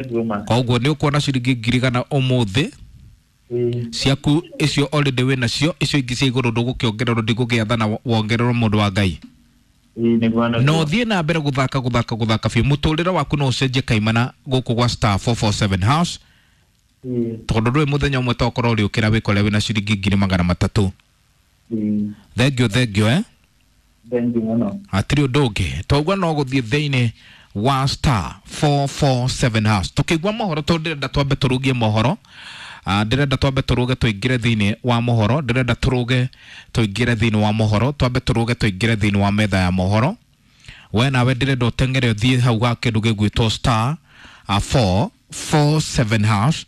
Nĩguo ma. Koguo nĩ ũkuona ciringi 100,000 ũmũthĩ. Ĩĩ. Ciaku icio already wĩ nacio, icio ingĩ cia igũrũ ndũgũkĩongererwo, ndigũgĩathana wongererwo, mũndũ wa Ngai. Ĩĩ, nĩguo nĩguo. Na ũthiĩ na mbere gũthaka gũthaka gũthaka biũ, mũtũrĩre waku no ũcenjie kaimana gũkũ gwa *447#. Ĩĩ. Tondũ ndũĩ mũthenya ũmwe tokorwo ũrĩũkĩra wĩkore wĩna ciringi 300,000. Ĩĩ. Thengio, thengio, eh. Thank you mũno. Hatirĩ ũndũ ũngĩ, toguo no gũthiĩ thĩinĩ wa *447# tũkĩigua mohoro, tondũ ndĩrenda twambe tũrũgie mohoro. Ndĩrenda twambe tũrũge tũingĩre thĩinĩ wa mohoro, ndĩrenda tũrũge tũingĩre thĩinĩ wa mohoro, twambe tũrũge tũingĩre thĩinĩ wa metha ya mohoro. We nawe ndĩrenda ũteng'ere ũthiĩ hau ga kĩndũ gĩgwĩtwo *447#.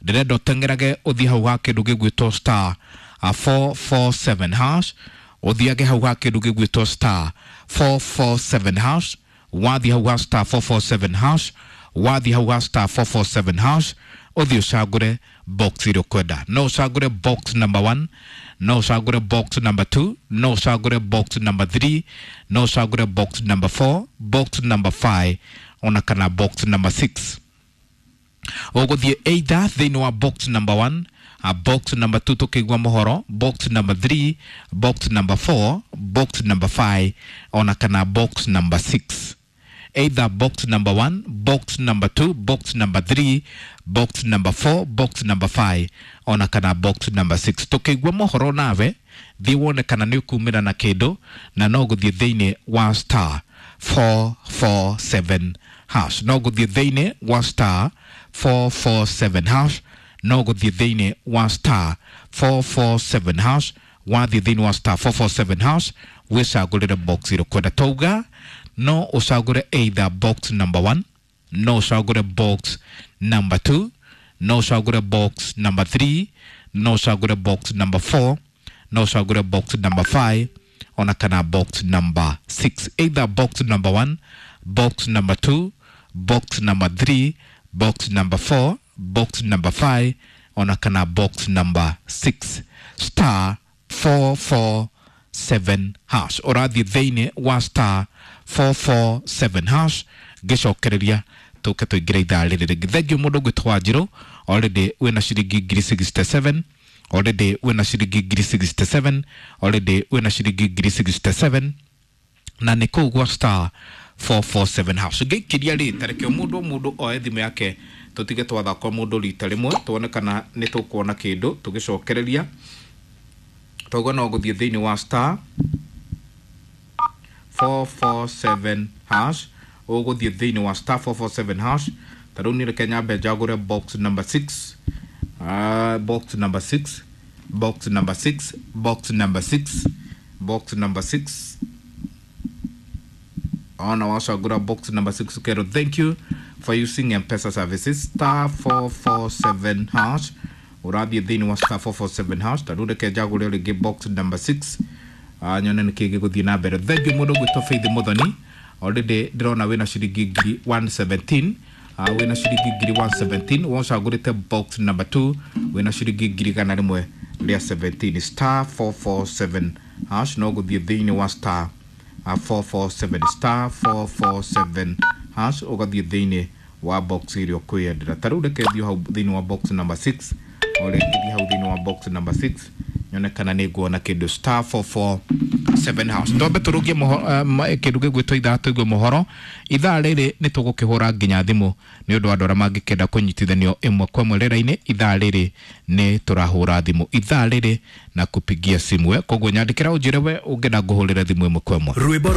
Ndĩrenda ũteng'erage ũthiĩ hau ga kĩndũ gĩgwĩtwo *447#, ũthiage hau ga kĩndũ gĩgwĩtwo *447#. Wathiĩ hau ga *447#, wathiĩ hau ga *447# ũthiĩ ũcagũre box ĩrĩa ũkwenda. No ũcagũre box number 1, no ũcagũre box number 2, no ũcagũre box number 3, no ũcagũre box number 4, box number 5, ona kana box number 6. Ũgũthiĩ either thĩinĩ wa box number 1, box number 2 tũkĩigua mohoro, box number 3, box number 4, box number 5, ona kana box number 6. Either box number 1, box number 2, box number 3, box number 4, box number 5, ona kana box number 6. Tũkĩigua mohoro nawe thiĩ wone kana nĩ ũkumĩra na kĩndũ, na no gũthiĩ thĩinĩ wa *447#, no gũthiĩ thĩinĩ wa *447#, no gũthiĩ thĩinĩ wa *447#. Wathiĩ thĩinĩ wa *447# wĩcagũrĩre box ĩrĩa ũkwenda. Twauga no ũcagũre either box number 1, no ũcagũre box number 2, no ũcagũre box number 3, no ũcagũre box number 4, no ũcagũre box number 5, ona kana box number 6. Either box number 1, box number 2, box number 3, box number 4, box number 5, ona kana box number 6. *447#, ũrathiĩ thĩinĩ wa *447# ngĩcokereria tũke tũingĩre ithaa rĩrĩ rĩngĩ. Thengiũ mũndũ ũngwĩtwo Wanjirũ, already wĩna ciringi 67,000, already wĩna ciringi 67,000, already wĩna ciringi 67,000, na nĩ kũu gwa *447#. Ngĩikĩria rĩ, tareke o mũndũ o mũndũ oe thimũ yake, tũtige twathaka o mũndũ rita rĩmwe, tuone kana nĩ tũkuona kĩndũ tũgĩcokereria. Toguo no gũthiĩ thĩinĩ wa *447#, ũgũthiĩ thĩinĩ wa *447#. Ta rĩu niĩ reke nyambe njagũre box number 6, box number 6, box number 6, box number 6, box number 6. Ona wacagũra box number 6, kero thank you for using M-Pesa services, *447#. Ũrathiĩ thĩinĩ wa *447#. Ta rĩu reke njagũre rĩngĩ box number 6, nyone nĩ kĩĩ gĩgũthiĩ na mbere. Thank you mũndũ ũgwĩtwo Faith Muthoni, already ndĩrona wĩna ciringi 117,000, wĩna ciringi 117,000. Wacagũrĩte box number 2, wĩna ciringi 117,000. *447#, no gũthiĩ thĩinĩ wa *447, *447# ũgathiĩ thĩinĩ wa box ĩrĩa ũkwĩyendera. Ta rĩu reke thiĩ hau thĩinĩ wa box number 6, o rĩngĩ thiĩ hau thĩinĩ wa box number 6 nyone kana nĩ nguona kĩndũ, *447#. Twambe tũrũgie kĩndũ gĩgwĩtwo ithaa, tũigue mohoro. Ithaa rĩrĩ nĩ tũgũkĩhũra nginya thimũ nĩ ũndũ wa andũ arĩa mangĩkenda kũnyitithanio ĩmwe kwa ĩmwe rĩera-inĩ. Ithaa rĩrĩ nĩ tũrahũra thimũ ithaa rĩrĩ na kupigia simu, koguo nyandĩkĩra ũnjĩre we ũngĩenda ngũhũrĩre thimũ ĩmwe kwa ĩmwe. Rwĩmbo.